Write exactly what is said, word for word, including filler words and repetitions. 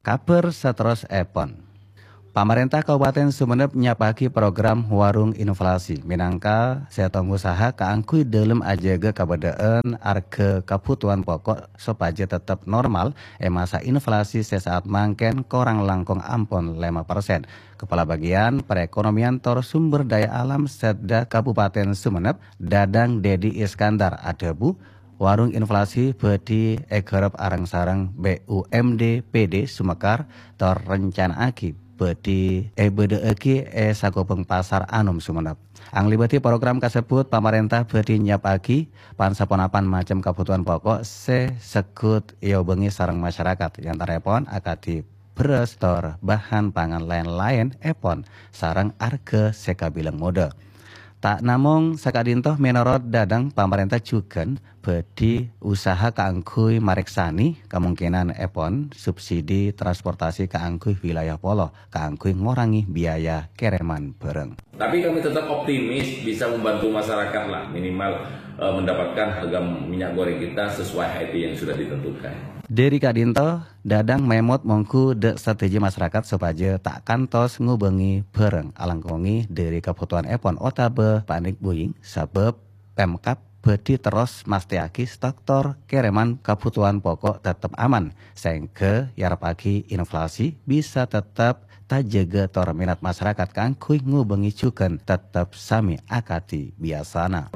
Kabhâr saterrossèpon. Pamarènta Kabupaten Sumenep nyapa'aghi program Warung Inflasi mènangka sèttong usaha kaangghuy dhâlem ajâgâ kabâdâ'ân arghâ kabhutowan pokok sopajâ tetep normal è masa inflasi sè saat mangkèn korang langkong ampon lèma persen. Kepala Bagian Perekonomian tor Sumber Daya Alam Setda Kabupaten Sumenep, Dadang Dedi Iskandar adhâbu, Warung inflasi bhâdhi èghârâp areng-sareng B U M D P D Sumekar tor rencana'aghi bhâdhi èbâdâ'aghi è sakobhâng Pasar Anom Sumenep. Anglèbâdhi program kasebbhut, pamarènta bhâdhi nyapa'aghi pan-saponapan macem kabhutowan pokok sè segghut èobângè sareng masyarakat, è antara'èpon akadhi bherrâs tor bahan pangan laèn-laèn èpon sareng arghâ sè kabilang modhâ. Ta' namong saka'dinto, mènorot Dadang, pamarènta jhughân bhâdhi usaha kaangghuy marèksanè kamongkènan èpon subsidi transportasi kaangghuy wilayah polo kaangghuy ngorangè biaya kèrèman bhârâng. Tapi kami tetap optimis bisa membantu masyarakat lah, minimal, eh, mendapatkan harga minyak goreng kita sesuai H I P yang sudah ditentukan. Dhâri ka'dinto, Dadang mèmot mongghu dâ' sadhâjâ masyarakat sopajâ ta' kantos ngobângè bhârâng alangkongè dhâri kabhutowan èpon otabâ panic buying, sabâb Pemkab bhâdhi terros mastèyaghi stok tor kèrèman kabhutowan pokok tetep aman, saèngghâ èarepaghi inflasi bisa tetep tajâgâ tor minat masyarakat kaangghuy ngobângè jhughân tetep samè akadhi biyasana.